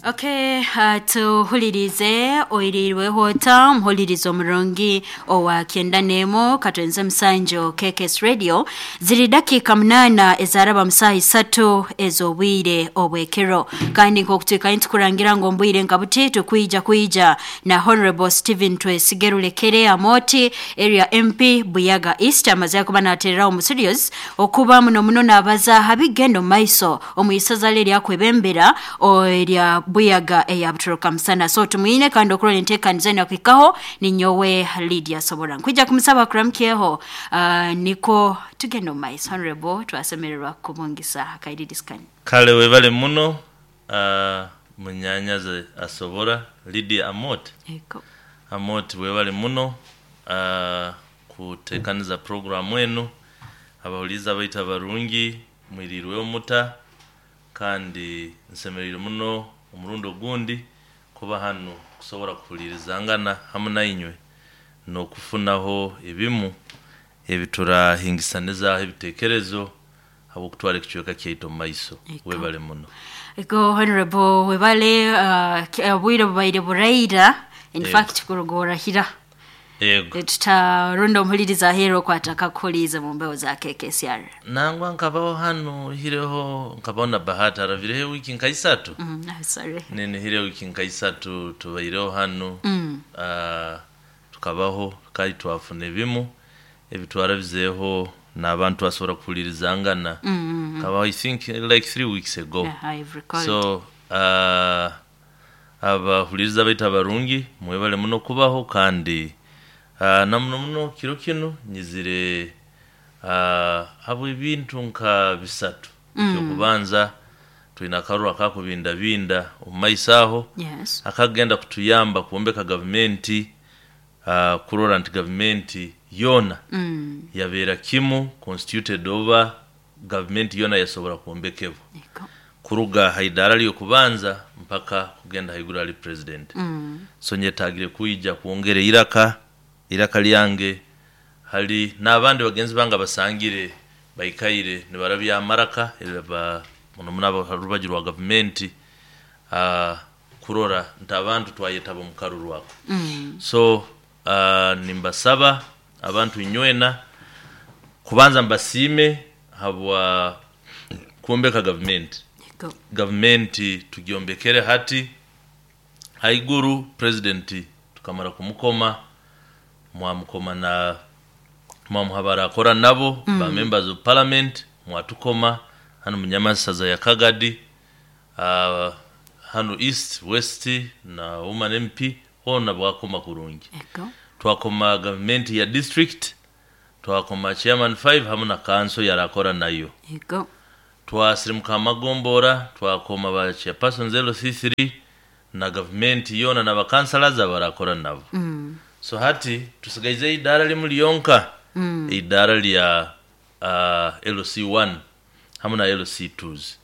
Okay, tuhulirize oirirweho ota omuhulirizo omurungi owa 91 katwenze musanju KKS Radio. Ziri dakika 8 ezaraba musaha 3 ez'obwire obwekero, kandi nk'okutwikayo ntukurangira ngu ombwire nka buti tukwija kwija na Honorable Stephen Twesige Rulekere Amoti, area MP Buyaga East, amaze kuba natereraho mu studios okuba muno muno nabaza habigendo maiso omuisaza lyakwebembera erya Buyaga eya Butoroka Musana. So tumwine kandi okurora enteekaniza eno kuhikaho ninyowe Lydia Sobora nkwija kumusaba kuramukyeho, niko tugenda omu maiso. Honorable, twasemererwa kubungisa akairidisikani. Kale webale muno, munyanyazi Asobora Lydia Amot. Ego. Amot, webale muno kutekaniza programu enu. Abahuliza baitu abarungi, mwirirweho muta? Kandi nsemereire muno omurundi ogundi kuba hanu kusobora kuhulirizangana hamu nainywe n'okufunaho ebimu ebiturahingisanizaho ebitekerezo habw'okutwara ekicweka kyaitu omu maiso. Webale muno. Ego, Honorable, webale. Obwire bubaire buraira, in fact kuruga orahira. Yego. Tutaronda omuhuliriza aheera okwataka kuhuliiza mu mbeho za KKCR. Nangwa nkabaho hanu hireho, nkabaho na Bahati aravireho wiki nka 3. Sorry. Ninihire wiki nka 3 tubaireho hanu. Tukabaho kandi twafuna ebimu ebitwarabizeeho n'abantu basobora kuhulirizangana. Nkabaho, I think, like 3 weeks ago. Yeah, I've recalled. So abahuliriza baitu abarungi, mwebale muno kubaho, kandi na muno muno kiro kinu nyizire habw'ebintu nka 3. Ekyokubanza, twine akaruru akakubindabinda omu maiso aho, akagenda kutuyamba kwombeka gavumenti, kurora nti gavumenti yoona yabeera kimu constituted, oba gavumenti yoona yasobora kwombekebwa kuruga ha idaara ly'okubanza mpaka kugenda haiguru hali president. So nyetagire kwija kwongera iraka lyange hali n'abandi bagenzi bange abasangire baikaire nibarabya amaraka muno muno ha rubaju rwa gavumenti, kurora nti abantu twayetaba omu karuru ako. So nimbasaba abantu inywena kubanza mbasiime habwa kwombeka gavumenti. Gavumenti tugyombekere hati haiguru president tukamara kumukoma, mwamukoma na mwamuha barakora nabo, ba members of parliament, mwatukoma hanu munyamasaza ya Kagadi, hanu East, West na Woman MP hona bwakoma kurungi. Twakoma gavumenti ya district, twakoma chairman 5 hamu na council yarakora nayo. Twasirimuka amagombora, twakoma ba chairperson 0C3 na gavumenti yona n'abakansalas abarakora nabo. So hati tusigaize idaara limu lyonka, idaara lya LC1 hamu na LC2s,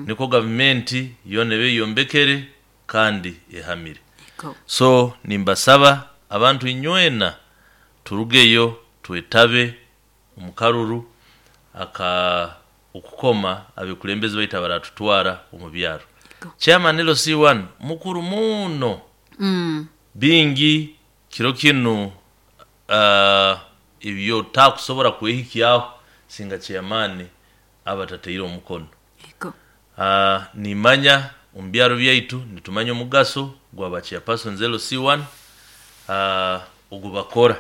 niko gavumenti yona ebe yombekere kandi ehamire. So nimbasaba abantu inywena turugeyo twetabe omu karuru aka okukoma abekulembezi baitu abaratutwara omu byaro. Chairman LC1 mukuru muno. Bingi kiro kinu ebyo takusobora kwehikyaho singa chairman aba tataire omukono. Nimanya omu byaro byaitu nitumanya omugaso gwa ba chairpersons LC1, ogubakora.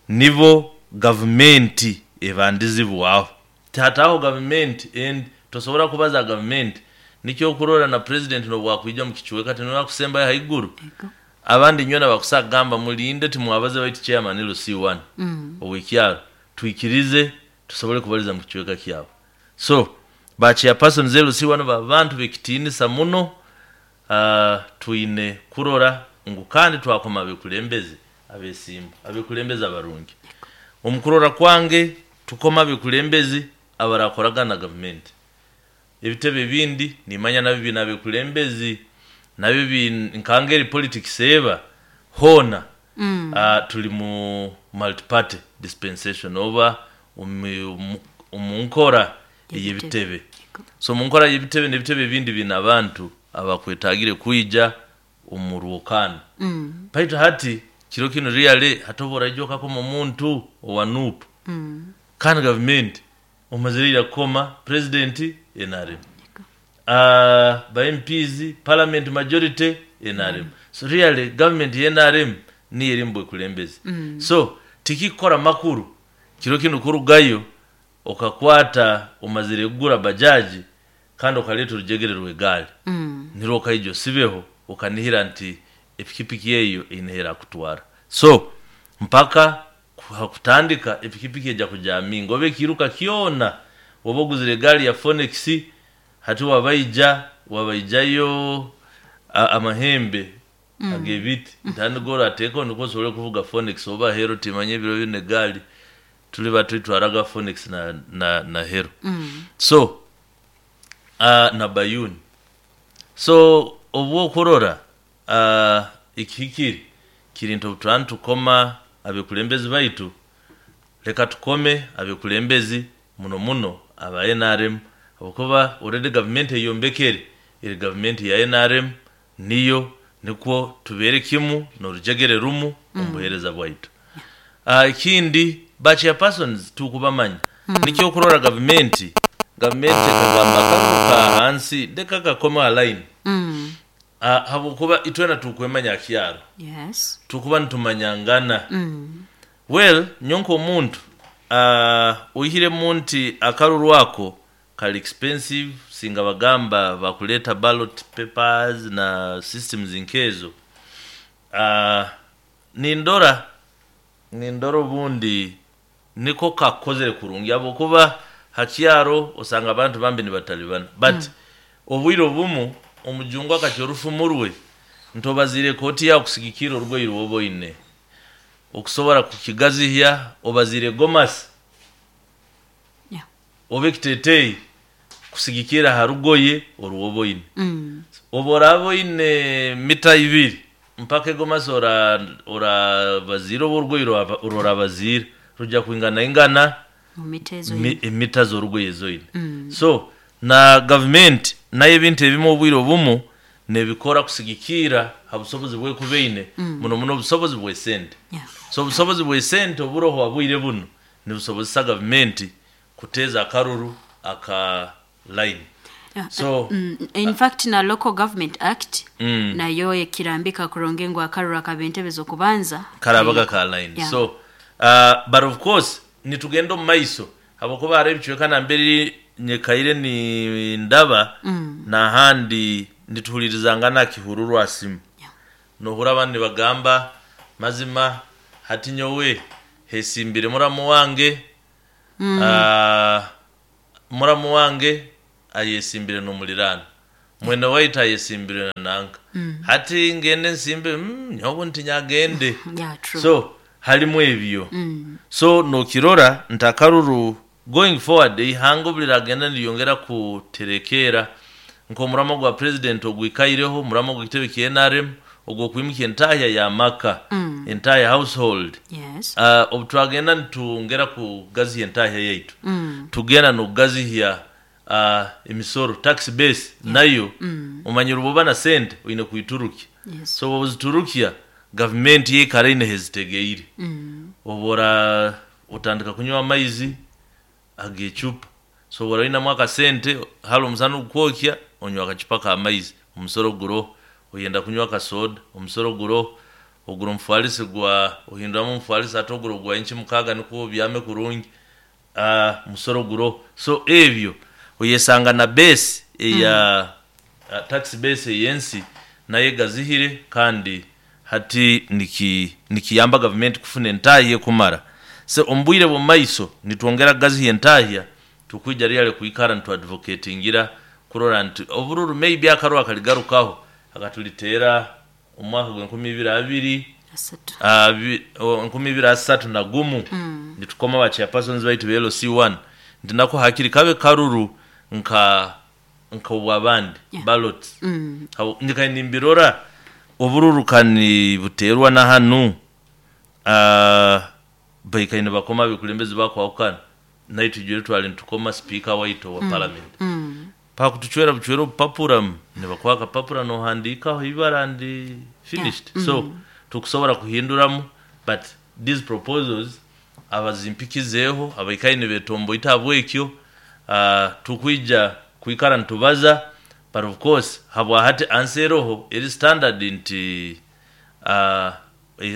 Nibo gavumenti ebandizibwaho. Tihataho gavumenti endi, tosobora kubaza gavumenti. Nikyo okurora na president n'obwakwija mu kicweka tinora kusembayo haiguru. Abandi nywena bakusa kugamba mulinde timwabaze baitu chairman LC1 ow'ekyaro twikirize tusobole kubaliza mu kicweka kyabo. So ba chairpersons LC1 babantu b'ekitiinisa muno, twine kurora ngu kandi twakoma abekulembezi abesimbu, abekulembezi abarungi. Omu kurora kwange tukoma abekulembezi abarakoragana na gavumenti. Ebitebe ebindi nimanya nabyo biine abekulembezi, nabyo nkangeri politics eba hoona, tuli mu multi-party dispensation oba omu nkora ey'ebitebe. So omu nkora y'ebitebe n'ebitebe ebindi biine abantu. Abakwetagire kwija omu rwokano. Baitu hati kiro kinu really hati oba okakoma omuntu owa NUP, kandi gavumenti omazire ira kukoma president NRM, ba MPs, parliament majority NRM. So really government ya NRM niyo eri mubwekulembezi. So tikikukora makuru kiro kinu kurugayo okakwata omazire kugura bajaji kandi okaleta orujegere rw'egaali, nirwo okaija osibeho okanihira nti epikipiki eyo eine erakutwara. So mpaka hakutandika epikipiki ejya kujaminga oba ekiruka kyona oba oguzire egaali ya Phoenix, hati wabaija wabaijayo amahembe ag'ebiti ntanigo orateekaho nikwo osobole kuvuga Phoenix oba Hero. Timanya ebiro binu egaali tuli batwitwaraga Phoenix na Hero. So na Bayuni. So obwokurora ekihikire kiri nti obu nitukoma abekulembezi baitu, leka tukome abekulembezi muno muno aba NRM, habwokuba already gavumenti eyombekere eri gavumenti ya NRM, niyo nikwo tubeere kimu n'orujegere rumu omu buheereza bwaitu. Ekindi, ba chairpersons tukubamanya. Nikyo okurora gavumenti ekagamba akaruru ka hansi leka kakome ha line, habwokuba itwena tukwemanya kyaro. Tukuba nitumanyangana. Well, nyowe nk'omuntu, oihiremu nti akaruru ako kali expensive, singa bagamba bakuleeta ballot papers na systems nkezo, nindora obundi niko kakukozere kurungi, habwokuba ha kyaro osanga abantu bambi nibatalibana. But obwire obumu omujungu akacwa orufumu rwe nti obaziire ekooti yawe kusigikirra orugoye rwoba oine okusobora kukigazihya, obaziire gomasi oba ekiteeteeyi kusigikirra ha rugoye orwoba oine. Obu oraaba oine mita 2 mpaka egomasi orabaziire oba orugoye orworabaziire rujya kwingana ingana emita z'orugoye ezoine. So na gavumenti nayo ebintu ebimu obwire obumu nebikora kusigikirra ha busobozi bwekuba eine, muno muno obusobozi bw'esente. So obusobozi bw'esente oburoho ha bwire bunu nibusobozesa gavumenti kuteeza akaruru aka line. So In fact, na Local Government Act nayo ekirambika kurungi ngu akaruru ak'ab'entebe z'okubanza karabaga ka line. So but of course nitugenda omu maiso, habwokuba hariho ebicweka nambere nyekaire nindaba, n'ahandi nituhulirizangana kihururwa simu. Nohurra abandi nibagamba mazima hati nyowe hesimbire muramu wange, muramu wange ayesimbire n'omuliraano mwene waitu ayesimbire na nanka, hati ngende nsimbe, nyowe ntinyagende. Yeah, true. So halimu ebyo. So nokirora nti akaruru going forward, ihanga obu liragenda niryongera kuterekeera nk'omuramo gwa president ogwikaireho, omuramo gw'ekitebe kya NRM ogw'okwimukya entahya y'amaka, entahya household. Obu twagenda nitwongera kugaziha entahya yaitu, tugenda n'okugazihya emisoro, tax base nayo. Omanyire obu oba na sente oine kwiturukya. So obu oziturukya, gavumenti yeikara eine hezitegeire. Obu ora otandika kunywa amaizi ag'ecupa, so obu orainamu akasente hali omusana ogukwokya onywa akacupa k'amaizi, omusoro guroho. Oyenda kunywa akasoda, omusoro guroho. Ogura omufalisi gwa ohinduramu omufalisi hati ogura ogwa inchi 6 nukwo obyame kurungi, musoro guroho. So ebyo oyesanga na base eya tax base ey'ensi nayo egazihire, kandi hati nikiyamba gavumenti kufuna entahya ekumara. So omu bwire bw'omu maiso nitwongera kugaziha entahya, tukwija really kwikara nituadvocatingira kurora nti obururu maybe akaruru akaligarukaho akatuliteera omu mwaka gw'enkumi ibiri abiri asatu, 2031, nitukoma ba chairpersons baitu ba LC1 nti nako hakiri kabe karuru nka nk'obwabandi ballots. Nyikaire nimbirora obururu kani buteerwa na hanu, baikaire nibakoma abekulembezi bakwahukana, naitwe ijwire twali nitukoma sipiika waitu owa parliament. Bakutuchwera buchwera obupapura, nibakuha akapapura nohandiikaho ibara and finished. Yeah. So tukusobora kuhinduramu, but these proposals abazimpikizeeho abaikaire nibetomboita habwekyo, tukwija kwikara nitubaza. But of course habwahati ansi eroho eri standard nti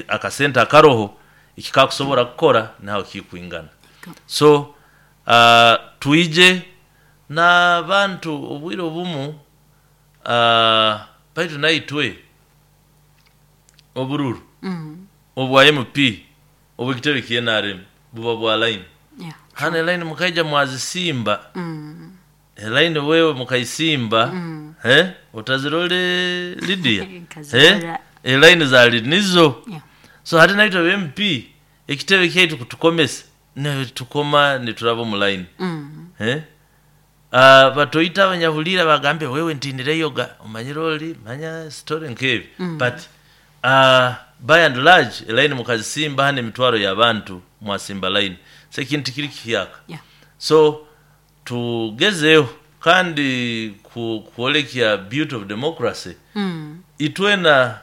akasente akaroho ekikakusobora kukora naho kikwingana. So twije n'abantu obwire obumu, baitu naitwe obururu obwa MP obwekitebe kya NRM buba bwa line. Hano eline mukaija mwazisimba. Elaini wewe mukaisimba, otazirole Lydia, Nkazirora. Elaini zali nizo. So hati naitwe MP ekitebe kyaitu kutukomesa netukoma nituraba omu line. Batoyita abanyahulira bagambe wewe ntinireyoga omanyire oli manya story nkebi. But by and large elaini mukazisimba hano emitwaro y'abantu mwasimba line, so ekintu kiri kihyaka. So tugezeho kandi kwolekya beauty of democracy. Itwena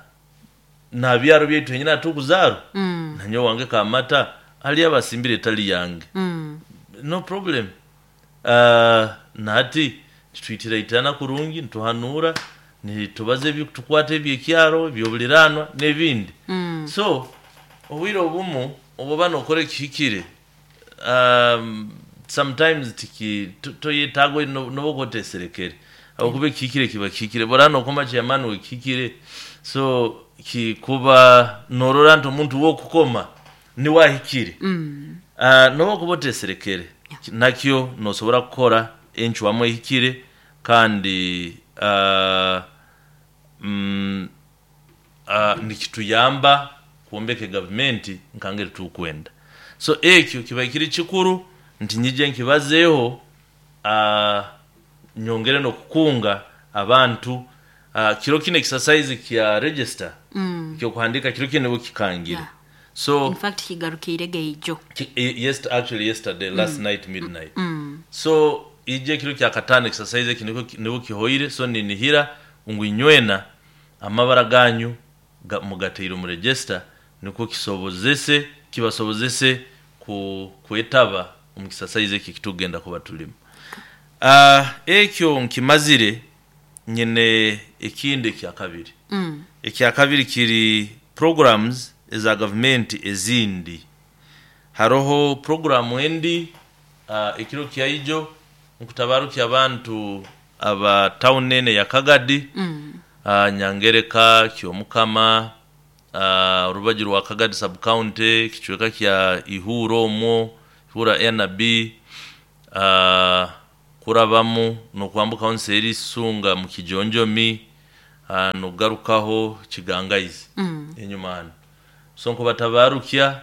na byaro byaitu henyina tukuzarwa, nanyowe wange kamata ali abasimbire etali yange. No problem. Nahati nitwitiraitana kurungi, nituhanura, nitubaza ebikutukwata ebyekyaro ebyobuliranwa n'ebindi. So obwire obumu obuba nokora ekihikire, sometimes tiki toyetaaga noba oteserekere, habwokuba ekihikire kiba kihikire, bora nokoma chairman wekihikire. So kikuba norora nti omuntu wokukoma niwe ahikire, noba okuba oteserekere, nakyo nosobora kukora encwamu ehikire. Kandi nikituyamba kwombeka egavumenti nkangeri tukwenda. So ekyo kiba kiri kikuru nti nyije nkibazeeho, nyongere n'okukunga abantu. Kiro kino exercise kya register kyokuhandika kiro kino nibo kikangire. So In fact kigarukiire geijo. Yes, actually yesterday, last night midnight. So ije kiro kya katano exercise eki nibo kihoire. So ninihira ngu inywena amabara ganyu mugateire omu register, nikwo kibasobozese kwetaba omu exercise eki kitugenda kuba tulimu. Ekyo nkimazire, nyine ekindi ekya kabiri. Ekya kabiri kiri programs eza gavumenti ezindi. Haroho programu endi, ekiro kyaijo nkutabarukya abantu aba town ene ya Kagadi, Nyangereka, Kyomukama, orubaju rwa Kagadi sub county, kicweka kya Ihura omwo, Ihura NB, kurabamu nokwambukaho nseeri Isunga mu Kijonjomi, nokugarukaho Kigangaizi enyuma hano. So nkubatabarukya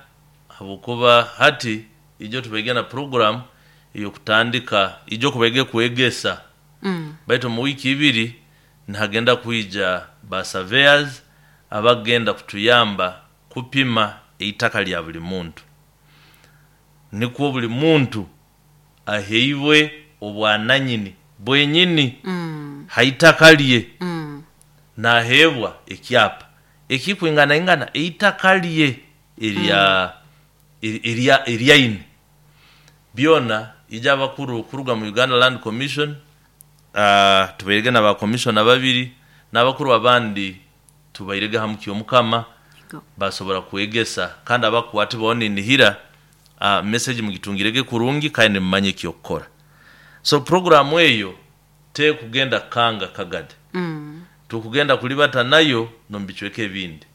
habwokuba hati ijo tubaige na program eyokutandika ijo kubaige kwegesa. Baitu mu wiki ibiri nihagenda kwija ba surveyors abagenda kutuyamba kupima eitaka lya buli muntu, nikwo buli muntu aheibwe obwananyini bwenyini haitaka lye, nahebwa ekyapa ekikwinganaingana eitaka lye erya eryaine byona. Ija abakuru kuruga mu Uganda Land Commission, tubairege na ba commissioner babiri n'abakuru abandi tubairege hamu Kyomukama, basobora kwegesa kandi abakwati bona ninihira message mugitungirege kurungi kandi nimumanye ekyokukora. So programu eyo tekugenda kanga Kagadi, tukugenda kulibata nayo nomubicweka ebindi,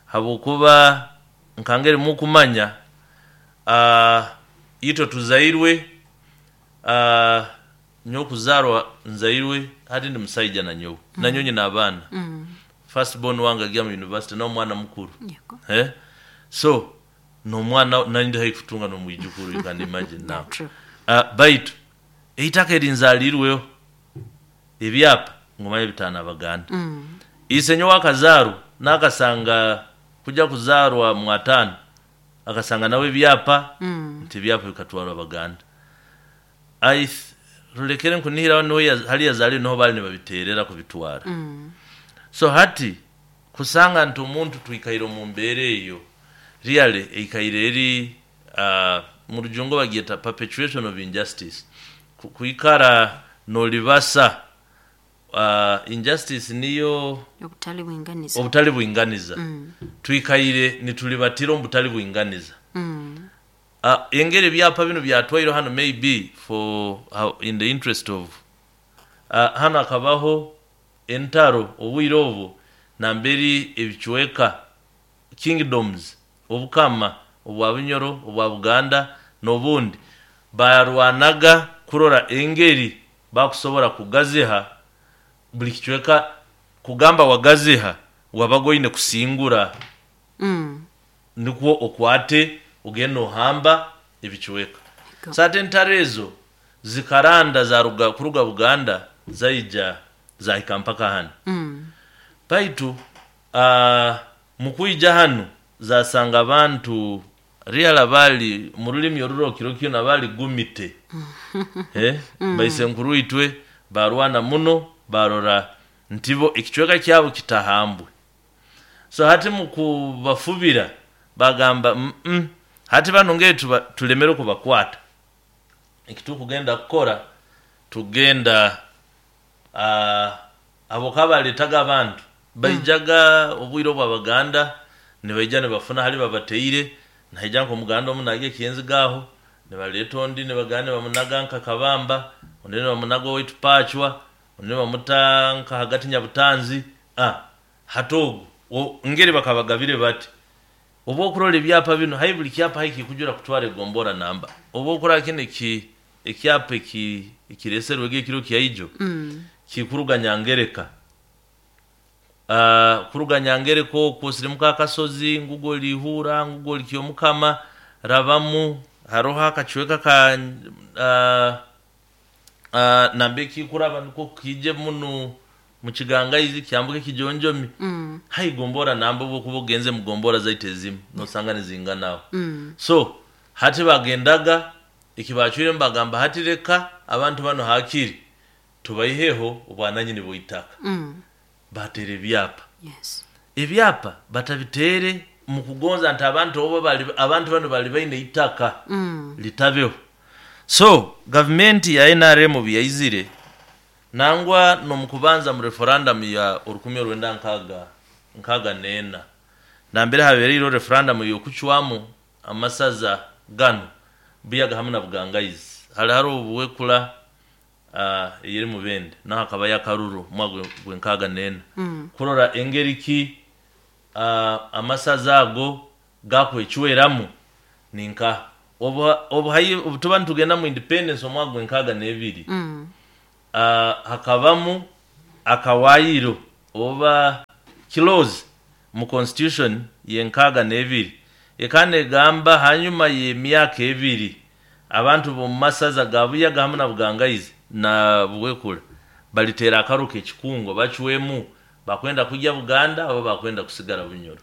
habwokuba nkangeri mukumanya, itwe tuzairwe, nyowe kuzarwa nzairwe hati ndi musaija nanyowe, nanyowe nyina abaana. First born wange agiya mu university n'omwana mukuru. So n'omwana nandi haihi kutunga n'omwijukuru, you can imagine now. Baitu eitaka erinzalirweho ebyapa ngumanye bitano abaganda. Ise nyowe akazarwa nakasanga kuja kuzarwa mwatano akasanga nawe ebyapa, nti ebyapa bikatwarwa abaganda. Rulekere nkunihira niho hali yazaliwe niho bali nibabiterera kubitwara. So hati kusanga nti omuntu twikaire omu mbeera eyo really eikaire eri mu rujungu bagyeta perpetuation of injustice. Kwikara nolibasa injustice niyo obutali bwinganiza. Obutali bwinganiza. Twikaire nitulibatira omu butali bwinganiza. Engeri ebyapa bino byatwaire hano maybe for in the interest of hano akabaho entaro obwire obwo namberi ebicweka kingdoms obukama obwa Bunyoro obwa Buganda n'obundi barwanaga kurora engeri bakusobora kugaziha buli kicweka. Kugamba wagaziha wabaga oine kusingura nikwo okwate ogenda ohamba ebicweka. Sate entaro ezo zikaranda zaruga kuruga Buganda zaija zahika mpaka hano. Baitu mukwija hanu zasanga abantu real bali mu rulimi orurokiro kyona bali gumite. Baisenkuru itwe barwana muno barora ntibo ekicweka kyabo kitahambwe. So hati mukubafubira bagamba hati bano ngeri tulemere kubakwata. Ekitukugenda kukora tugenda abo kabaletaga abantu baijaga obwire obwabaganda nibaija nibafuna hali babateire naija nko muganda omunage kienzigaho nibaleta ondi nibagana bamunaga nka Kabamba ondi nibamunaga owaitu Pachwa ondi nibamuta nka hagati Nyabutanzi. Hati ogu ngeri bakabagabire bati oba okurora ebyapa bino hai buli kyapa hai kikujura kutwara egombora namba oba okurora kino ekyapa ekireserwege ekiro kyaijo kikuruga Nyangereka. Kuruga Nyangereka okwo sirimuka akasozi ngugo lihura ngugo likyomukama rabamu haroho akacweka ka nambe kikuraba niko kije muno mukigangaizi kyambuke kijonjomi. Hai gombora namba obukuba ogenze mugombora zaite ezimu nosanga nizinganaho. So hati bagendaga ekibacwire mbagamba hati reka abantu bano hakiri tubaiheho obwananyini bw'itaka. Batere ebyapa. Ebyapa batabitere mukugonza nti abantu obo bali abantu bano bali baine itaka litabeho. So gavumenti ya NRM byaizire nangwa nomukubanza mu referendum ya 1964 nambere habereire referendum yokuchwamu amasaza gano Buyaga hamwe na Bugangaizi. Hali haro obuwekula eyeri mubende naho akaba yakaruru mwaka gwe 64 kurora engeri ki amasaza ago gakwechweramu ninka obu tuba nitugenda mu independence omwaka gwe 62 hakabamu akawayiro oba clause mu constitution yenkaga n'ebiri ekane gamba hanyuma y'emyaka ebiri abantu bo masaza ga Buyaga hamwe na Bugangaizi na Buwekula balitera akaruka ekikungo bachwemu bakwenda kujya Buganda abo bakwenda kusigara Bunyoro.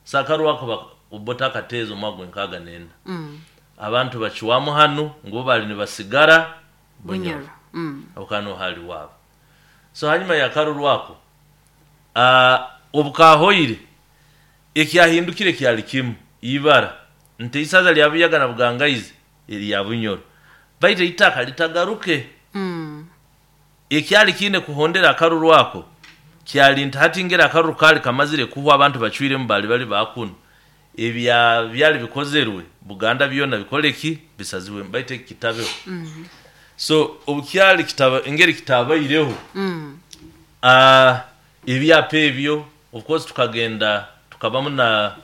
Sakaru wako ubota akatezo mwagwe 64 abantu bachiwamu hanu ngo bali nibasigara Bunyoro. Okano hali wabo. So hanyuma ya karuru wako obukahoire ekyahindukire kyali kimu ibara nti isaza lya Buyaga na Bugangaizi erya Bunyoro baite itaka litagaruke. Ekyali kine kuhondera akaruru wako kyali nti hati ngera akaruru kali kamazire kuhwa abantu bachwire mbali bali bakuno ebya byali bikozerwe Buganda byona bikoleki bisaziwe baite kitabeho. So obukyali kitaba engeri kitabaireho ebyapa ebyo of course tukagenda tukabamu na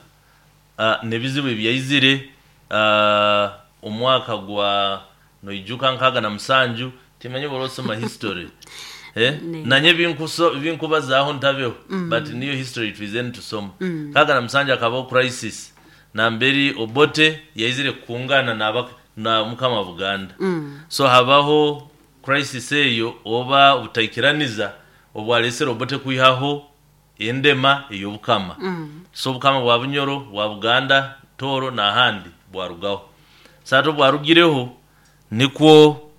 nebizibu ebyaizire omwaka gwa noijuka 67 timanyi borosoma history. Nanye binkubazaho ntabeho but niyo history twize tusoma. 67 akabaho crisis namberi Obote yaizire kungana na mukama Buganda. So habaho crisis eyo oba obutaikiraniza obwalesera Obote kuihaho endema ey'obukama. So obukama bwa Bunyoro bwa Buganda Toro n'ahandi bwarugaho. Sato bwarugireho nikwo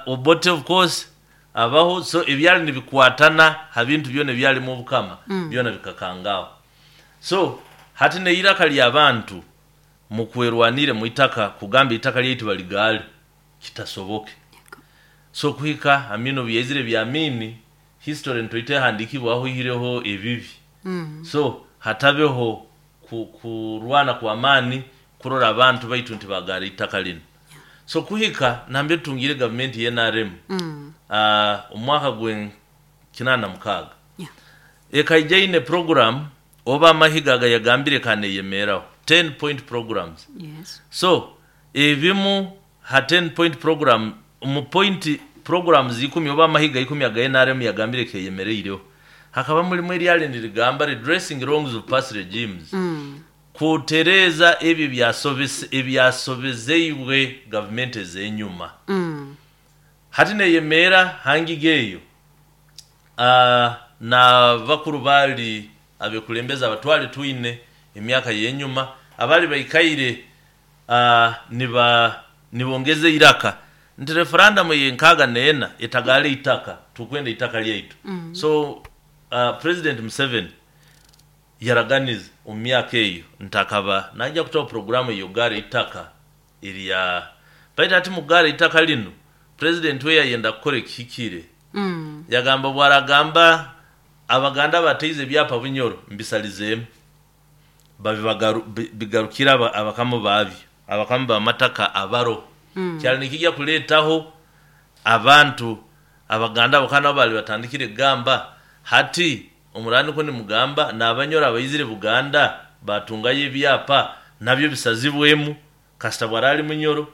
Obote of course abaho. So ebyali nibikwatana ha bintu byona ebyalimu obukama byona bikakangaho. So hati neiraka ly'abantu mukwerwanire mu itaka, kugamba itaka lyaitu baligaale kitasoboke. So kuhika Amini obu yaizire bya Amini, history ntoite ehandikibwaho ihireho ebibi. So hatabeho kurwana kw'amaani kurora abantu baitu nti bagaara itaka linu. So kuhika nambere tutungire gavumenti ya NRM omwaka gwe 86, ekaija ine program oba amahiga agayagambire kaneyemeeraho 10 point programs. So ebimu ha 10 point program, mu point programs 10 oba amahiga 10 aga NRM yagambire keyemereireho, hakaba mulimu eryali nirigamba redressing wrongs of past regimes, kutereeza ebyo ebyasobezeibwe gavumenti ez'enyuma. Hati neyemeera hangiga eyo, na bakuru baali abekulembeza abatwali twine emyaka y'enyuma abali baikaire nibongeza iraka nti referendum ey'enkaaga neena etagaala itaka, tukwenda itaka lyaitu. So President Museveni yaraganiza omu myaka eyo nti akaba najja kutaho programu ey'okugaara itaka erya baitu. Hati mukugaara itaka linu, president we yayenda kukora ekihikire. Yagamba bwaragamba Abaganda bateize ebyapa Bunyoro mbisalizeemu bigarukire abakamu babyo, abakamu b'amataka abaro. Kyali nikijja kuleetaho abantu Abaganda abo kandi nabo baali batandikire kugamba hati omurani ko nimugamba n'Abanyoro abaizire Buganda batungayo ebyapa nabyo bisazibwemu kasita bwara ali Munyoro,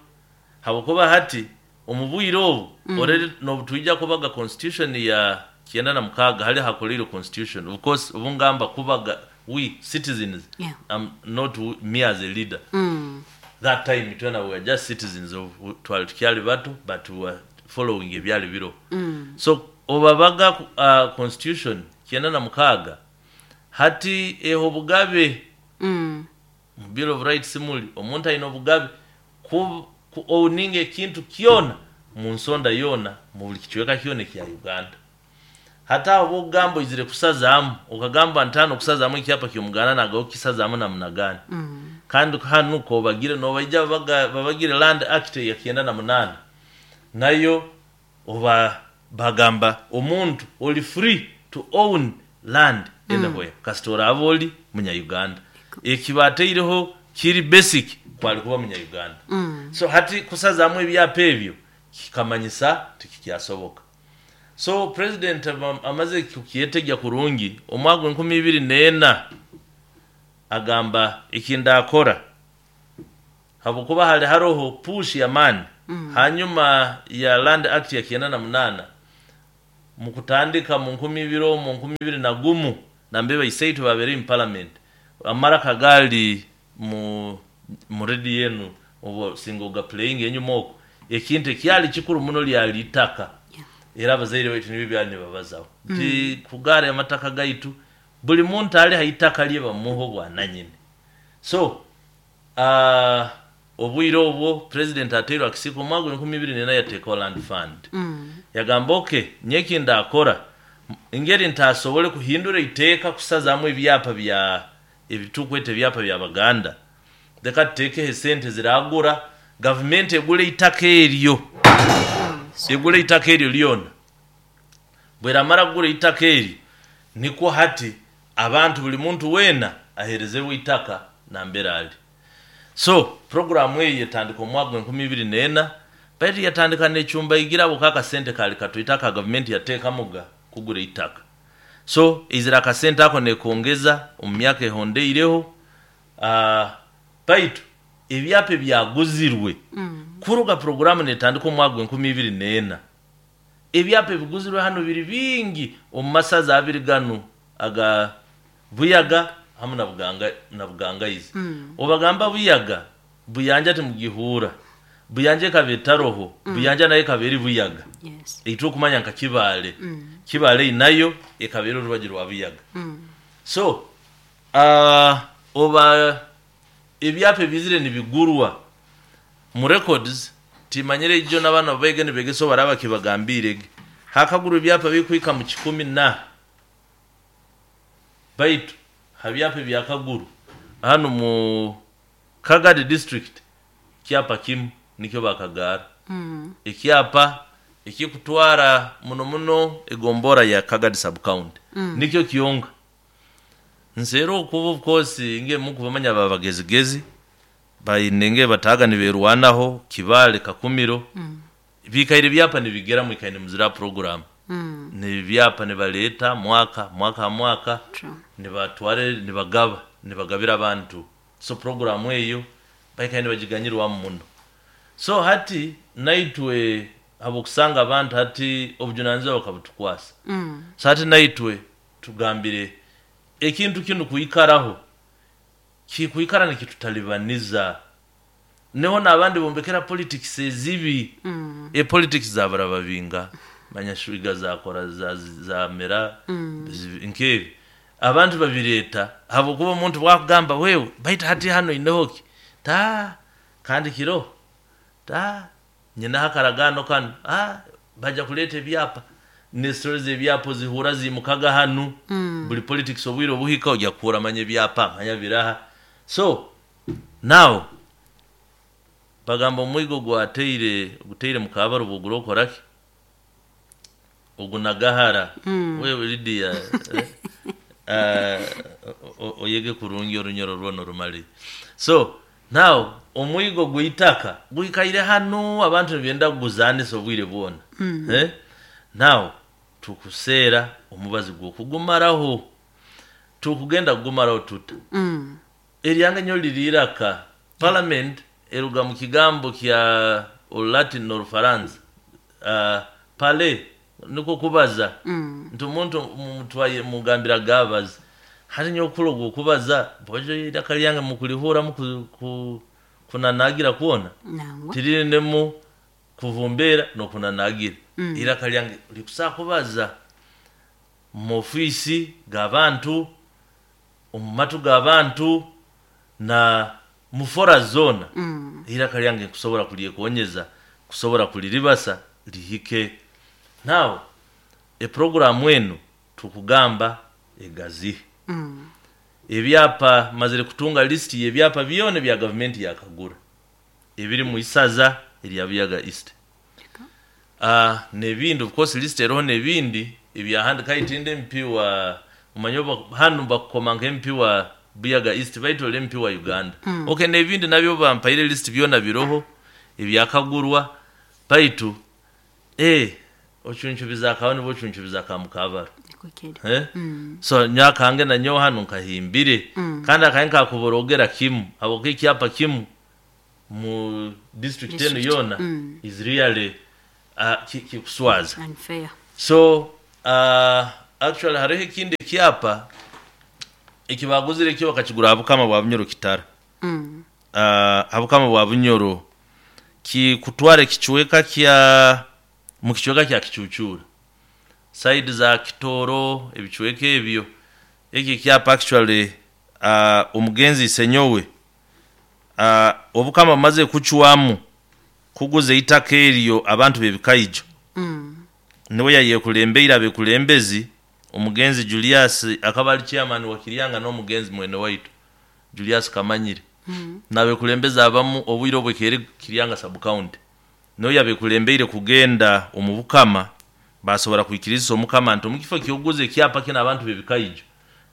habwokuba hati omu bwire obu already n'obutwija kubaga constitution ya 96, hali hakoleire constitution. Of course obu ngamba kubaga, we citizens, not me as a leader. That time twena we were just citizens of twali tukyali bato, but we were following ebyali biro. So obabaga constitution 96 hati eha obugabe mu Bill of Rights, muli omuntu aine obugabe ku owninga ekintu kyona mu nsonda yoona mu buli kicweka kyona ekya Uganda. Hati aho bwokugamba oizire kusazaamu, okagamba nti hano okusazaamu ekyapa ky'Omuganda nagaho kukisazaamu namunagani? Kandi hanu kobagire nobaija babagire Land Act eya 98 nayo oba bagamba omuntu oli free to own land anywhere kasita oraaba oli Munya-Uganda. Eki bataireho kiri basic kwali kuba Munya-Uganda. So hati kusazaamu ebyapa ebyo kikamanyisa tikikyasoboka. So president amaze kukyetegya kurungi, omwaka gw'e 2004 agamba ekindakora, habwokuba hali haroho push y'amaani hanyuma ya Land Act ya 98 mukutandika mu 2000, mu 2001, nambe baisaitwe babeere mu parliament, amaraka gaali mu radio enu obu singa oga playing enyuma okwo, ekintu ekyali kikuru muno lyali itaka. Era abazaire baitu nibyo byali nibabazaho nti kugaara amataka gaitu, buli muntu ali ha itaka lye bamuha obwananyini. So obwire obwo president ateirwe akisiika omwaka gw'e 2004 yateekaho land fund. Yagamba okay, nyeki ndakora engeri ntasobole kuhindura iteeka kusazaamu ebyapa bya ebitukweta ebyapa by'Abaganda, leka tuteekeho esente ziragura gavumenti egule itaka eryo, egule itaka eryo lyona. Bweramara kugura itaka eryo, nikwo hati abantu buli muntu weena aheerezebwe itaka nambere ali. So programu eyo yetandika omwaka gw'e 2004, baitu yatandika necyumbayigira abo kakasente kali katoito aka gavumenti yateekamuga kugura itaka. So eizira akasente ako nekongeza omu myaka ehondeireho, baitu ebyapa ebyaguzirwe kuruga programu netandika omwaka gw'e 2004, ebyapa ebiguzirwe hano biri bingi omu masaza abiri ganu aga Buyaga hamu na Buganga na Bugangaizi. Obagamba Buyaga, Buyanja timugihuura. Buyanja ekaba etaroho, Buyanja nayo ekaba eri Buyaga. Eitwe okumanya nka Kibaale, Kibaale nayo ekaba eri orubaju rwa Buyaga. So oba ebyapa ebizire nibigurwa mu records. Timanyire ijo n'abaana baige nibegesa baraba kibagambirege. Hakaguru ebyapa bikuika mu 10 na baitu habyapa byakaguru hano mu Kagadi district kyapa kimu nikyo bakagara. Ekyapa ekikutwara muno muno egombora ya Kagadi sub county. Nikyo kiyonga. Nzero okuba of course nge mukubamanya babagezigezi bayinenge bataga niberwanaho Kibale Kakumiro. Bikaire byapa nibigera mu ikaine muzira program. Ni byapa nibaleta mwaka mwaka mwaka. Nibatware nibagaba nibagabira abantu. So program eyo baikaine bagiganyirwa muno. So hati naitwe abokusanga abantu hati obujunanizibwa bakabutukwasa. So hati naitwe tugambire ekintu kinu kuikaraho kikuikara nikitutalibaniza. Neho nabandi bombekera politics ezibi. Politics zabarababinga manyashuiga zakora za mera nkebi abantu babireta habokuba omuntu bwakugamba wewe baita hati hano inehoki ta kandi kiro ta nyina hakaragano kanu baja kuleta ebyapa ne stories ebyapo zihura zimukaga hanu. Buli politics obwiro buhika ojya kura manye byapa manya biraha. So now bagamba omwigo gwateire guteire mukabaro buguro koraki ogunagahara. Wewe Lydia oyege kurungi orunyoro rwono rumali. So now omwigo gwitaka gwikaire hano abantu byenda kuguzanisa obwire bwona. Now tukusera omubazi gwokugumaraho tukugenda kugumaraho tuta. Eryanga nyo liriraka parliament eruga mu kigambo kya Latin no Faransa pale niko kubaza. Ntu muntu mutwaye mugambira gabaza hari nyo kulogo kubaza bojo irakalyanga mukulihura mu kunanagira kuona tirinemo kuvumbera no kunanagira. Irakalyanga likusa kubaza mu ofisi gabantu omumatu gabantu na mufora zona. Iraka lyange kusobora kulyekonyeza kusobora kuliribasa lihike. Now e program wenu tukugamba egazi. Ebyapa mazire kutunga list y'ebyapa byone bya government yakagura ebiri mu isaza erya Buyaga East. Nebindi of course list eroho nebindi ebyahandika itinde MP wa umanyoba hanu bakoma nke MP wa Buyaga East baito MP wa Uganda. Okay nebindi nabyo bampaire list byona biroho ebyakagurwa baitu ochunchubiza kawo nibo chunchubiza kamukabaro. So nyakange na nyo hanu nkahimbire. Kandi akayenka kuborogera kimu abo kyapa kimu mu district eno yona is really kikuswaza unfair. So actually hariho ikindi kyapa ekibaguzire kyo bakakigura abukama bwa Bunyoro Kitara. Abukama bwa Bunyoro ki kutware kichweka kya mu kichweka kya Kichuchura side za Kitoro ebichweka ebyo. Eki kyapa actually omugenzi senyowe obukama maze kuchwamu kuguza itaka eryo abantu bebikaijo. Niwe yayekulembera bekulembezi omugenzi Julius akabali chairman wa Kiryanga n'omugenzi mwene waitu Julius Kamanyire. Nabekulembeza abamu obwiro bwekere Kiryanga sub county. Niwe yabekulembere kugenda omubukama basobora kuikiriza omukama nti omukifo kyoguze kyapa kina abantu bebikaijo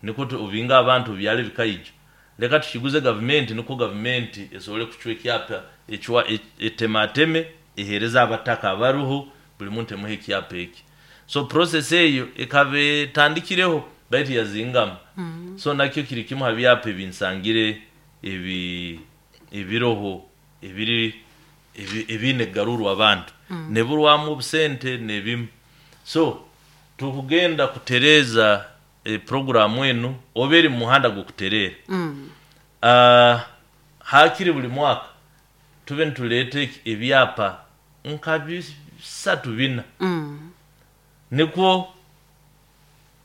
niko obinga abantu byali bikaijo leka tukiguze government niko government esobole kuchwe kyapa echwa etemateme ehereza abataka abaruho buli muntu emuhe kyapa eki. So process eyo ekabe tandikireho baitu yazingama. So nakyo kiri kimu habyapa ebinsangire ebi ebiroho ebiri ebine garuru abantu. Neburwamu obusente nebimu. So tukugenda kutereza programu enu oberi muhanda gukuterera. Hakiri buli mwaka tube ntulete ebyapa nka 3-4. Niko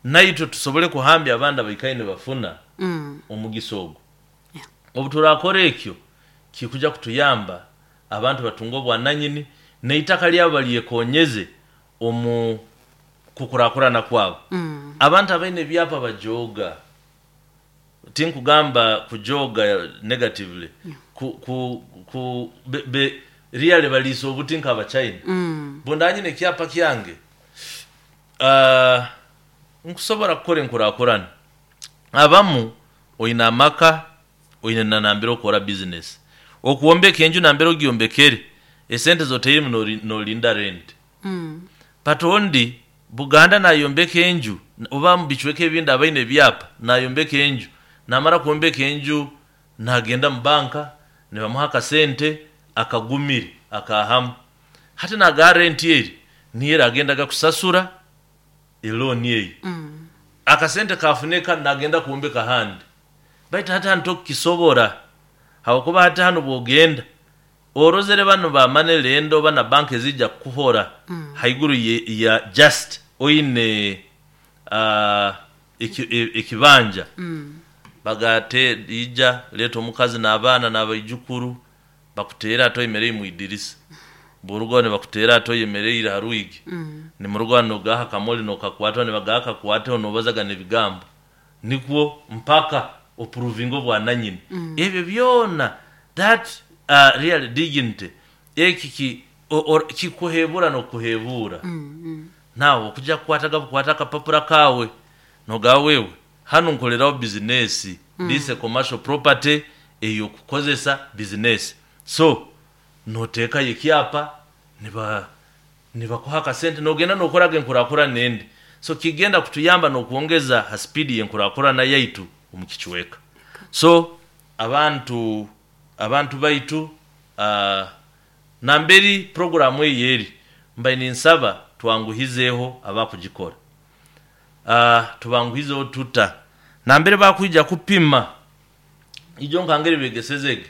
naitwe tusobole kuhambya abanda baikaine bafuna omugisogo. Obuturakora ekyo kikuja kutuyamba Abantu batunge obwananyini n'eitaka lyabo balyekonyeze omu kukurakurana kwabo. Abantu abaine ebyapa bajooga. Tinkugamba kujoga negatively, ku, ku, ku, be, be, really baliisa obuti nk'Abachina. Bundanyine ekyapa kyange, nkusobora kukora enkurakurana. Abamu oine amaka, oine na nambere okora business, okuwombeka enju nambere ogyombekere, esente zoteiremu nolinda rent. But ondi Buganda nayombeka enju, oba mu bicweka ebindi abaine ebyapa nayombeka enju, namara kwombeka enju nagenda mu banka nibamuha akasente akagumire akahamu. Hati nagaa rent eri niyo eragendaga kusasura elooni eyo. Akasente kafuneka nagenda kwombeka ahandi. Baitu hati hanu tokukisobora, habwokuba hati hanu bwogenda orozere banu ba money lender oba na banka ezijja kukuhora haiguru ya just oine ekibanja. Bagate ija leeta omukazi n'abaana n'abaijukuru bakuteere ati oyemereire mwidirisa. Bw'orugaho nibakuteera ati oyemereire ha rwigi. Nimurugaho nogaha akamoli nokakwataho, nibagaha akakwateho nobazaga n'ebigambo. Nikwo mpaka opuruvinge obwananyini. Ebyo byona that real dignity eki kikuhebura n'okuhebura. Nawe okujja kukwataga bukwata akapapura kaawe nogamba wewe hanu nkoleraho bizinesi, this a commercial property ey'okukozesa bizinesi. So noteekayo ekyapa nibakuha akasente nogenda nokoraga enkurakurana endi. So kigenda kutuyamba n'okwongeza ha speed y'enkurakurana yaitu omu kicweka. So abantu baitu namberi puroguramu eyo eri, mbaire ninsaba twanguhizeeho abakugikora. Tubanguhizeho tuta? Nambere bakwija kupima, ijo nkangeri begesezege,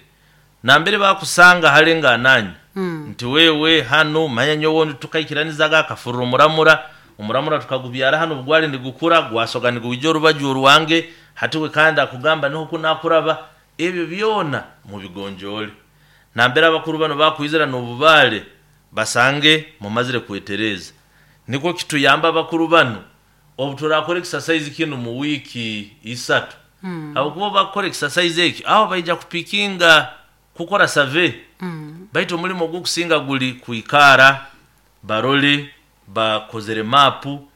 nambere bakusanga hale ngananya nti wewe hanu manya nyowe tukaikiranizaga akafurura omuramura, omuramura tukagubyara hanu obugwali nigukura, gwasoga niguija orubaju orwange, hati we kandi akugamba niho kunakuraba, ebyo byona mubigonjoole. Nambere abakuru banu bakwizira n'obubaale basange mumazire kwetereza. Nikwo kituyamba abakuru banu obu turakora exercise kinu mu wiiki 3. Habwokuba obu bakukora exercise eki, aho baija kupikinga kukora survey. Baitu omulimo ogukusinga guli kwikara barole bakozere maapu,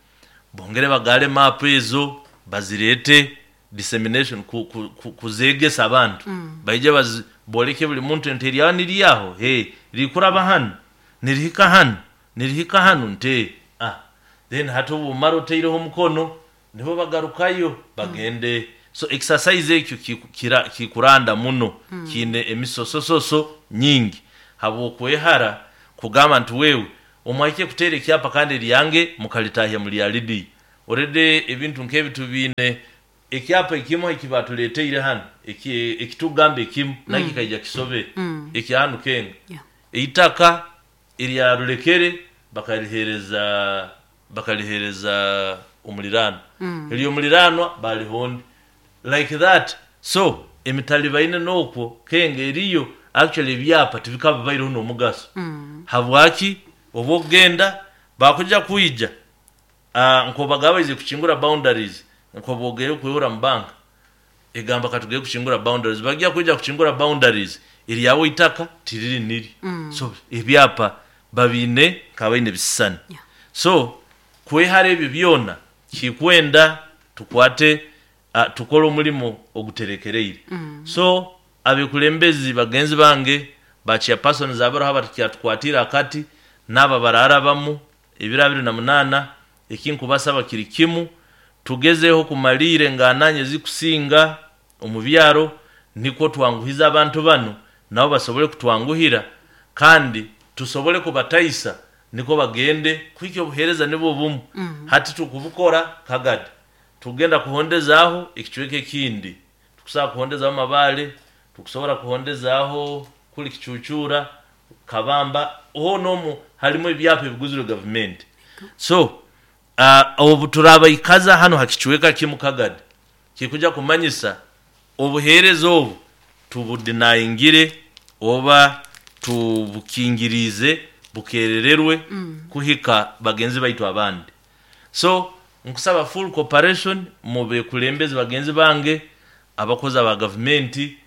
bongere bagaale maapu ezo bazirete dissemination kuzegesa abantu. Baije boleke buli muntu nti eryaho niryaho, rikuraba hanu, nirihika hanu, nirihika hanu nti Then hati obu omara otaireho omukono, nibo bagarukayo bagende. So exercise ekyo kikuranda muno, kiine emisosososo nyingi habw'okwehara kugamba nti wewe omwahike kuteera ekyapa kandi eryange mukalitahya mulyalidiya. Already ebintu nk'ebi tubiine ekyapa ekimu eki batuleeteire hanu, ekitugamba ekimu nakyo kikaija kisobere, ekya hanu Kenga. Eitaka erya Rulekere bakaliheereza omuliraanwa, ery'omuliraanwa baaliha ondi, like that. So emitalibaine n'okwo Kenga eriyo, actually ebyapa tibikaba bibaireho n'omugaso. Habwaki? Obu okugenda bakuja kwija nkobaga baize kukingura boundaries, nkoba ogeire kwehura mu banka, egamba katugere kukingura boundaries, bagya kwija kukingura boundaries, eryawe eitaka tiriri niryo. So ebyapa babiine nk'abaine ebisisani. So kwehara ebyo byona kikwenda tukwate tukole omulimo oguterekereire. So abekulembezi bagenzi bange ba chairpersons abaroho abakyatukwatiire akati n'abo abararabamu ebiro 28, ekinkubasaba kiri kimu, tugezeho kumaliira engananya ezikusinga omu byaro, nikwo twanguhize abantu banu nabo basobole kutwanguhira kandi tusobole kubataisa nikwo bagende kuhikya obuheereza nibwo bumu. Hati tukubukora Kagadi, tugenda kuhondezaaho ekicweka ekindi, tukusobora kuhondezaho Mabaale, tukusobora kuhondezaaho kuli Kicucura, Kabamba, hoona omu harimu ebyapa ebiguzirwe gavumenti. So obu turabaikaza hanu ha kicweka kimu Kagadi, kikuja kumanyisa obuheereza obu tubudinayingire oba. Tubukingirize bukerererwe kuhika bagenzi baitu abandi. So nkusaba full cooperation mu bekulembezi bagenzi bange, abakozi aba gavumenti,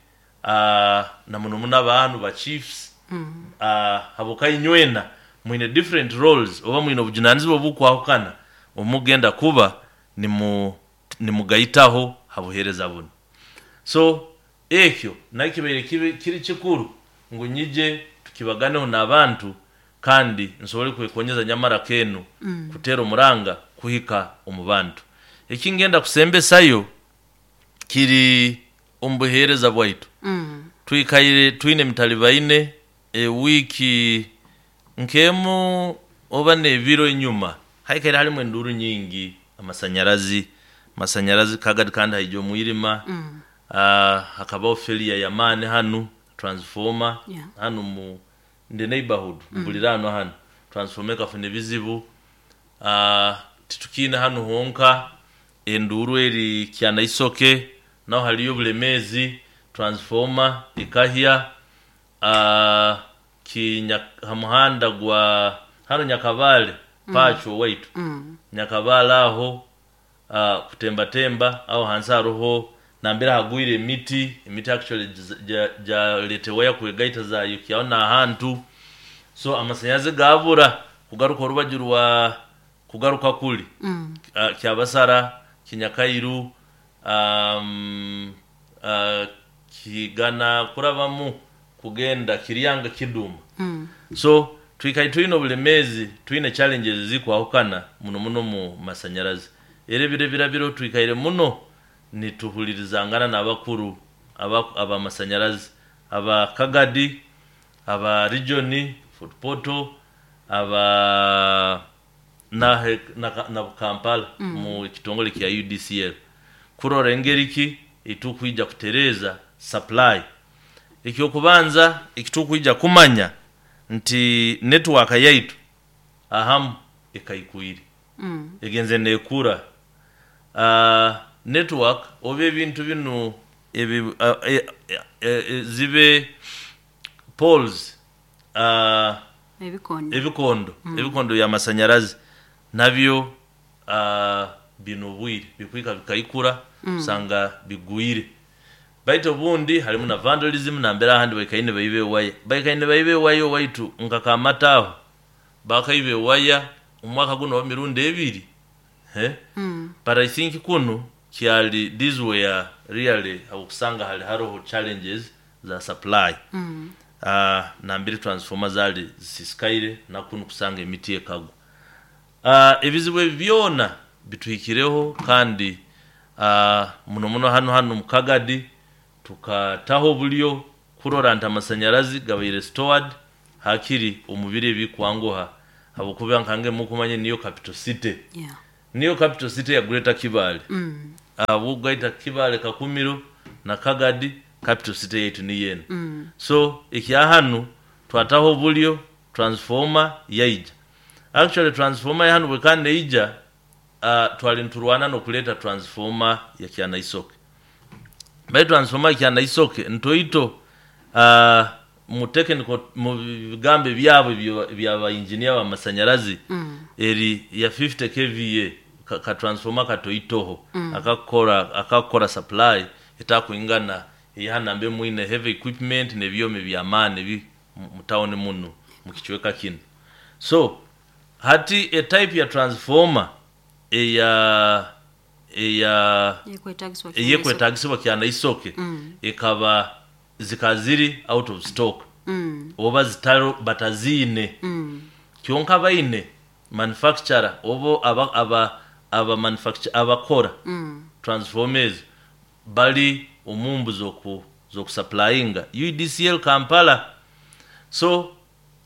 na muno muno abantu ba chiefs, haboka inywena mwine different roles oba mwine obujunanizibwa obukwahukana omugenda kuba nimugaitaho habuhereza buno. So ekyo nakibaire kiri kikuru ngu nyije tukibaganeho n'abantu kandi nsobole kwekonyeza nyamara kenu kutera omuranga kuhika omu bantu. Ekingenda kusembesayo kiri omu buheereza bwaitu. Twikaire twine emitalibaine ewiiki nk'emu oba n'ebiro enyuma, haikaire halimu enduru nyingi, amasanyarazi kagadi kandi haija omwirima. Hakabaho failure y'amaani hanu, transformer hanu mu the neighborhood, buliraano hanu transformer ekafuna ebizibu. Titukiine hanu honka, enduru eri Kyanaisoke naho haliyo obulemeezi, transformer ekahya. Ha muhanda gwa hanu Nyakabale Pacho waitu, Nyakabale aho, kutembatemba aho hansi haroho nambere hagwire emiti actually jaleta waya kwegaita zayokyaho n'ahantu. So amasanyarazi gabura kugaruka orubaju rwa kugaruka kuli Kyabasara, Kinyakairu, Kigana kurabamu kugenda Kiryanga, Kiduma. So twikaire twine obulemeezi, twine challenges ezikwahukana muno muno mu masanyarazi. Era ebiro ebirabiro twikaire muno nituhulirizangana n'abakuru abamasanyarazi, aba Kagadi, aba region Fort Portal, aba na Kampala mu kitongole kya UDCL, kurora engeri ki etukwija kutereza supply. Ekyokubanza ekitukwija kumanya nti network yaitu ahamu ekaikwire, egenze nekura. Network oba ebintu binu zibe poles, ebikondo, ebikondo by'amasanyarazi nabyo bino obwire bikwika bikaikura, usanga bigwire. Baitu obundi halimu na vandalism, nambere ahandi baikaine baiba ewaya, baikaine baiba ewaya owaitu nka Kamata aho bakaiba ewaya omwaka guno oba mirundi ebiri. But I think kunu kyali these were really okusanga hali haroho challenges za supply. Nambere transformer zali zisisikaire nakunu kusanga emiti ekagwa. Ebizibu ebi byona bituhikireho kandi muno muno hanu mu Kagadi tukataho obulyo kurora nti amasanyarazi gabaire stored hakiri omu biro ebikwanguha, habwokuba nkange mukumanya niyo capital city. Niyo capital city ya Greater Kibaale. Ahabw'okugaita Kibaale, Kakumiro na Kagadi, capital city yaitu niyo enu. So ekya hanu twataho obulyo transformer yaija. Actually transformer ya hanu bwekaba neija, twali niturwana n'okuleeta transformer ya Kyanaisoke. Baitu transformer ya Kyanaisoke ntoito, mu technical, mu bigambo ebyabo ebyaba engineer b'amasanyarazi, eri ya 50 kVA, ka transformer katoitoho akakora supply etakwingana eya nambe mwine heavy equipment n'ebyoma eby'amaani ebi mu town muno mu kicweka kinu. So hati e type ya transformer eya eyekwetagisibwa Kyanaisoke ekaba zikaziri out of stock, oba zitaro bataziine. Kyonka baine manufacturer obo aba manufacture abakora transformers bali omumbu zokusupplyinga UDCL Kampala. So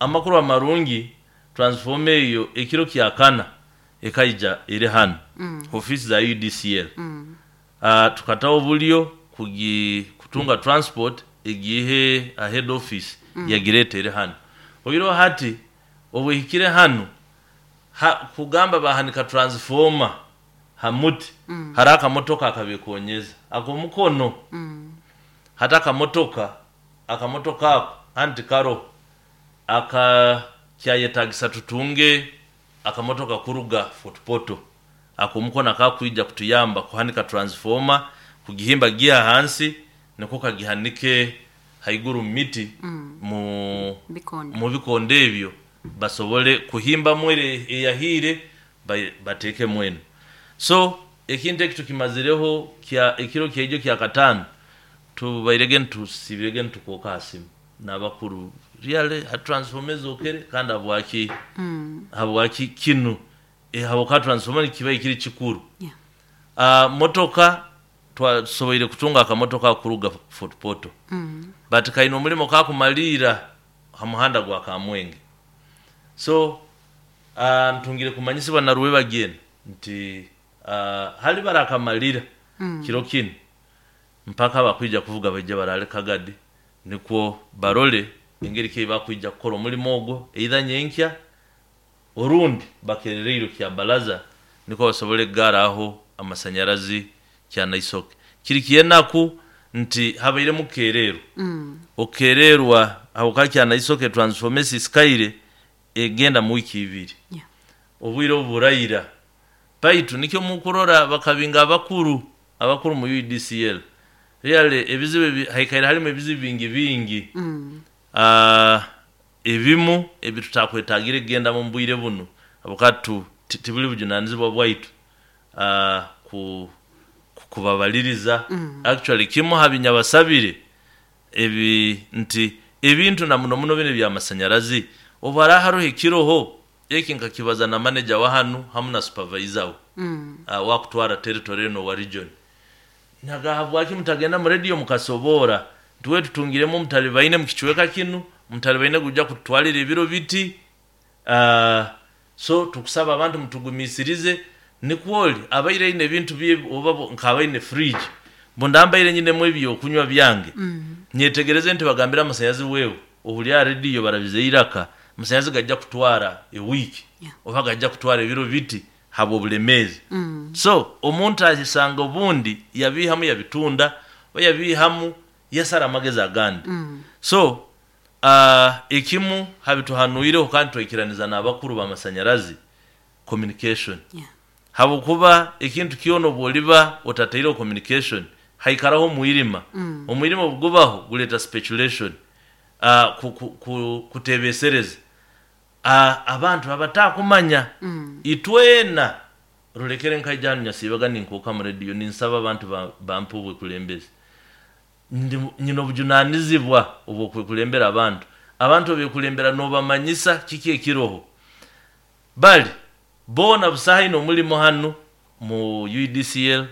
amakuru amarungi, transformer eyo ekiro kyakana ekaija eri hanu ofisi za UDCL. Tukataho obulyo kutunga transport egihe a head office, yagireeta eri hanu. Oiroho hati obwehikire hanu, kugamba bahanika transformer ha muti, hari akamotoka akabekonyeza ak'omukono. Hati akamotoka ako anti karoho. Aka kyayetagisa tutunge akamotoka kuruga Fort Portal akomukono akakwija kutuyamba kuhanika transformer, kugihimba giha hansi niko kagihanike haiguru mu miti, Bikondo. mu bikondo ebyo basobole kuhimbamu ere eyahire batekemu eno. So ekintu eki tukimazireho kya ekiro kyaijo kya katano, tubairege ntusibirege ntukooka ha simu n'abakuru really ha transformer ezokere kandi habwaki, habwaki kinu, habwokuba transformer nikiba kiri kikuru. Motoka twasoboire kutunga akamotoka kuruga Fort Portal, but kaine omulimo kakumaliira ha muhanda gwa Kamwenge. So ntungire kumanyisibwa na Rwebagyen nti hali barakamalira kiro kinu mpaka abakwija kuvuga baije barale Kagadi, nikwo barole engeri ki bakwija kukora omulimo ogwo either nyenkya orundi bakerereirwe kya balaza, nikwo basobole kugaraho amasanyarazi kya Naisoke. Kiri kyenaku nti habairemu kukererwa, okukererwa habwokuba kya Naisoke transformer esisikaire egenda mu wiiki 2, obwire obu buraira. Baitu nikyo mukurora bakabinga abakuru mu UEDCL really ebizibu haikaire halimu ebizibu bingi bingi, ebimu ebitutakwetagire kugenda mu bwire buno habwokuba tibuli bujunanizibwa bwaitu kubabaliriza. Actually kimu ha binyabasabire ebi nti ebintu na muno muno bino ebyamasanyarazi obu haraaba haroho ekiroho eki nkakibaza na manager wa hanu hamu na supervisor we, wakutwara territory eno wa region, naga habwaki mutagenda mu radio mukasoboora nti tutungiremu omutalibaine mu kicweka kinu, omutalibaine gujja kututwalira ebiro biti, so tukusaba abantu mutugumisirize. Nikwoli abaire aine ebintu bye oba nkabaine fridge bundambaire nyinemu ebyokunywa byange, nyetegereze nti bagambira amasanyazi wewe ohulya radio barabize iraka, amasanyazi gajja kutwara ewiiki, oba gajja kutwara ebiro biti habw'obulemeezi. So omuntu asanga obundi yabihamu yabitunda oba yabihamu yasara amagezi agandi. So ekimu habituhanuireho kandi twaikiraniza n'abakuru b'amasanyarazi communication, habwokuba ekintu kyona obu oliba otataireho communication haikaraho omwirima. Omwirima obugubaho guleeta speculation, kutebesereza abantu abatakumanya. Itwena rulekere nkaija hanu nyasiibaga ninkooka mu radio ninsaba abantu bampe obwekulembezi. Nyina obujunanizibwa obw'okwekulembera abantu. Abantu obekulembera nobamanyisa kiki ekiroho. Bali boona busaha ine omulimo hanu mu UEDCL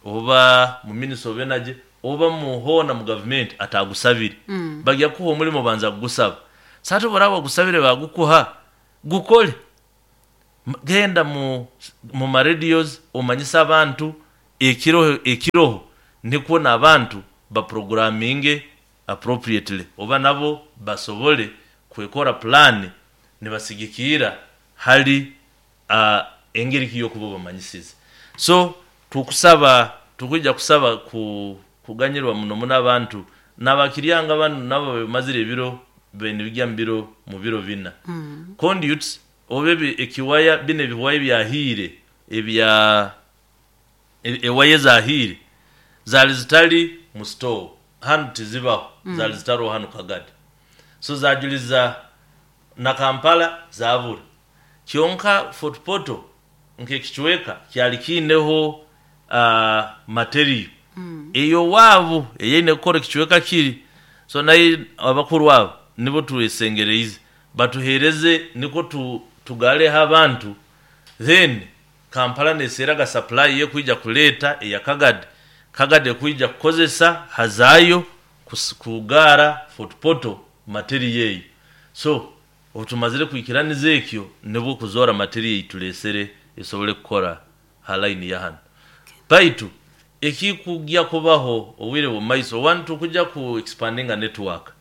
oba mu Ministry of Energy oba mu hoona mu government atagusabire. Bagya kukuha omulimo banza kugusaba. Sasa obu wagusabire bagukuha, gukole. Genda mu maradios omanyise abantu ekiroho nikwo n'abantu baprogramminge appropriately oba nabo basobole kwekora plan nibasigikira hali engeri ki y'okuba obamanyisize. So tukusaba, tukwija kusaba kuganyirwa muno muno abantu n'abakiryanga banu nabo bamazire ebiro benibijya mu biro 4. Conduits oba ekiwaya bino ebiwaya ebyahiire ebya ewaya ezahiire zali zitali mu store hanu tizibaho, zali zitaroho hanu Kagadi. So zajuliza na Kampala zabura. Kyonka Fort Portal nk'ekicweka kyali kiineho material eyo waabu eyaine kukora ekicweka kiri. So naye abakuru abo nibo twesengereize batuhereze niko tugaleho abantu, then Kampala neseeraga supply yekwija kuleeta eya Kagadi, Kagadi ekwija kukozesa hazayo kugara Fort Portal material eyo. So obu tumazire kwikiraniza ekyo nibwo kuzoora material eitulesere esobole kukora ha line ya hanu. Baitu ekikugya kubaho obwire bw'omumaiso, one tukujja ku expandinga network.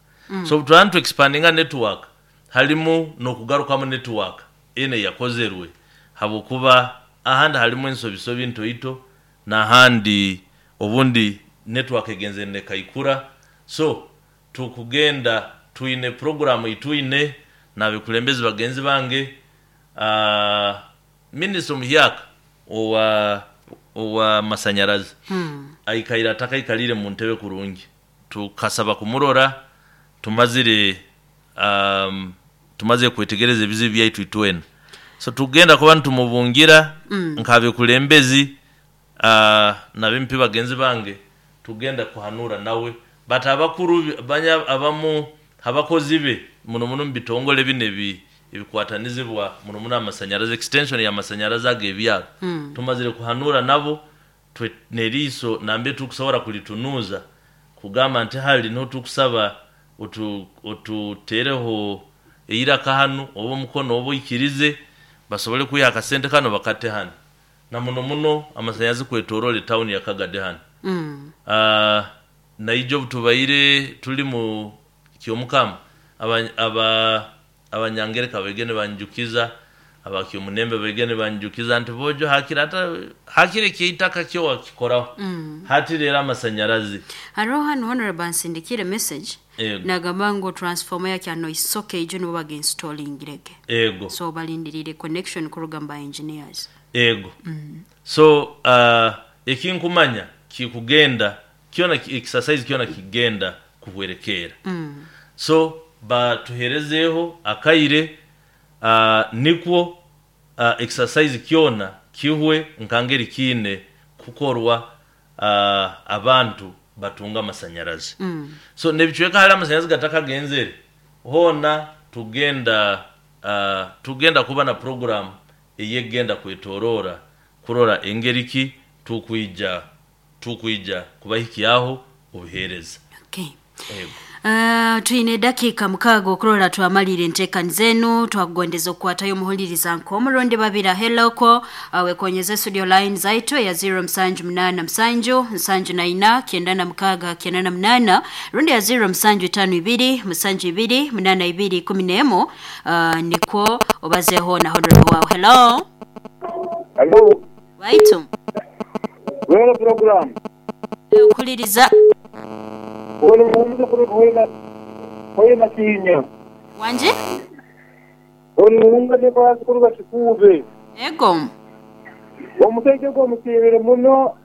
So obu tu expandinga network halimu n'okugarukamu network ene yakozerwe habwokuba ahandi halimu ensobisobi ntoito n'ahandi obundi network egenze nekaikura. So tukugenda twine programu itwine N'abekulembezi bagenzi bange, minisita omuhyaka owa masanyarazi aikaire atakaikalire mu ntebe kurungi, tukasaba kumurora tumazire tumaze kwetegereza ebizibu byaitu itwena. So tugenda kuba nitumubungira nk'abekulembezi n'abempi bagenzi bange, tugenda kuhanura nawe but abakuru banya abamu abakozi be muno muno mu bitongole bino ebikwatanizibwa muno muno amasanyarazi, extension ya masanyarazi ag'ebyaro, tumazire kuhanura nabo twe neriiso nambe tukusobora kulitunuza kugamba nti hali niho tukusaba otutereho eiraka hanu oba omukono oba oikirize basobole kwiha akasente kano bakate hanu na muno muno amasanyarazi kwetorora etawuni ya Kagadi hanu. Naija obu tubaire tuli mu kyomukama abanyangereka baige nibanjukiza, abakyomunembe baige nibanjukiza nti bojo hakira ata hakira ekyeitaka kyo wakikoraho. Hati rero amasanyarazi. Hariho hanu honorable ansindikire message. Ego. Nagamba ngu transformer yakyano isoke ijo nibo baginstallingirege. Ego. So balindirire connection kuruga mu ba engineers. Ego. So ekinkumanya kikugenda kyona exercise kyona kigenda kuhwerekera. So batuherezeho akaire nikwo exercise kyona kihwe nkangeri kiine kukorwa, abantu batunga amasanyarazi. So nebicweka hali amasanyarazi gatakagenzere hona tugenda kuba na program eyegenda kwetorora kurora engeri ki tukwija kubahikyaho obuhereza. Okay. Ego. Twine dakika 6 okurora twamalire enteekani zenu, twakugondeza okukwatayo omuhuliriza nk'omurundi babira heloko, wekonyeze studio line zaitu ya 0 musanju munana musanju nsanju na ina kenda na mukaga kenda na munana, rundi ya 0 musanju tano ibiri musanju ibiri munana ibiri kumi n'emu, nikwo obazeho na honorable wawe. Hello. Hello. Waitu. Wera program. Okuliriza. Wanje? Olunga kwa kikube. Ego. Omusajja gwo musibire muno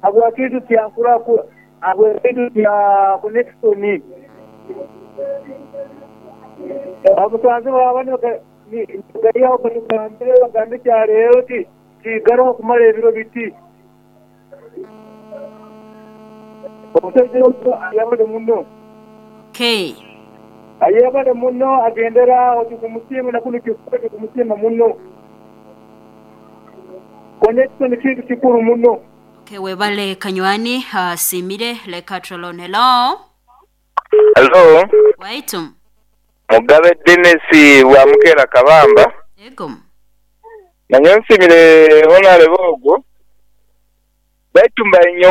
abwakitu kyankura ku abwakitu kya connection. Abusanze babana gayaho batugambire bagambe kyaleero ti kigaro kumara ebiro biti. Omusajja gwo ayabale muno. Okay. Ayabale muno agendera otukumusiima na kuno kikube kumusiima muno. Connection kintu kikuru muno. Okay, webale kanywani simire leka trolon. Hello. Hello. Waitu. Mugabe Dennis wa Mukera Kabamba. Ego. Nanyo nsimire honorable ogwo. Baitu mbainyo